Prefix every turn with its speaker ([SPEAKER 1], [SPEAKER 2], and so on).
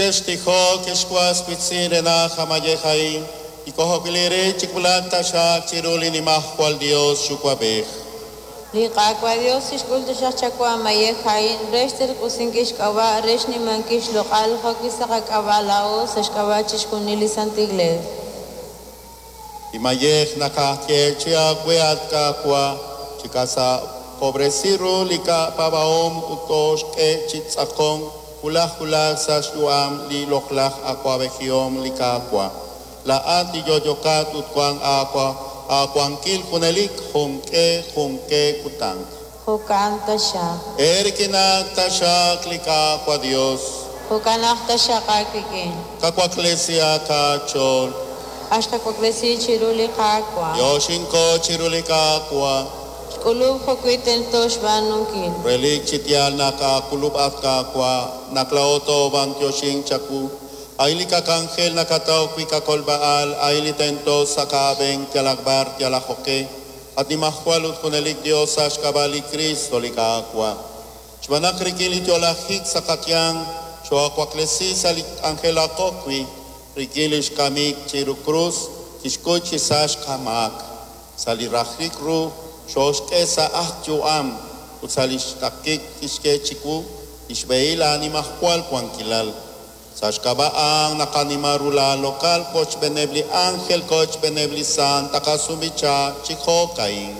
[SPEAKER 1] Chextijok ex was wiitz'in re naq amayej a'in li k'ojob'il eere chiwulaq taxaq chiru li Nimajwal Dios Yuwa'b'ej.
[SPEAKER 2] Li Qaawa' Dios tixk'ul taxaq chawu amayej a'in re xterq'usinkil xk'ab'a' re xnimankil xloq'al jo'wi' sa' qak'ab'a' laa'o sa' xk'ab'a' chixjunil li Santil Iglees.
[SPEAKER 1] Li mayej naqayeechi aawe at Qaawa' chikasakob'resi ru li qapaab'ahom ut tooxk'e chi tz'aqonk wulaj wulaj sa' xyu'am li loq'laj awa'b'ejihom li Qaawa'. Laa'at li yo'yokat ut wank aawankil junelik junq'e junq'e kutan.
[SPEAKER 2] Jo'kan taxaq.
[SPEAKER 1] Eerik'inak taxaq li Qaawa' Dios.
[SPEAKER 2] Jo'kan aj taxaq aawik'in.
[SPEAKER 1] Qawaklesihaq aach'ool.
[SPEAKER 2] Axqawaklesi chiru li Qaawa'.
[SPEAKER 1] Yoxinko chiru li Qaawa'.
[SPEAKER 2] Xk'ulub' jo'wi' tento xb'aanunkil.
[SPEAKER 1] Relik chi yaal naq aakulub' at Qaawa', naq laa'o toob'antioxink chawu. A'in li qak'anjel nakataw wi' qakolb'a'al, a'in li tento sa' qab'een yalaq b'ar yalaq jo'q'e. At Nimajwal ut junelik Dios sa' xk'ab'a' li Cristo li Qaawa'. Xb'aan naq rik'in li yo'lajik sa' qayanq xoo'awaklesi sa' li k'anjelaqo wi' rik'in li xkamik chiru krus kixkuy chi sa' xqamaak. Sa' li rajik ru xooxk'e sa' aj yu'am ut sa' li xtaqik kixk'e chiwu li xb'ehil aanimajwal wankilal. Sa' xk'ab'a' a'an naqanima ru laaloq'al kochb'eeneb' li ángel kochb'eeneb' li sant taqasub'icha chi jo'ka'in.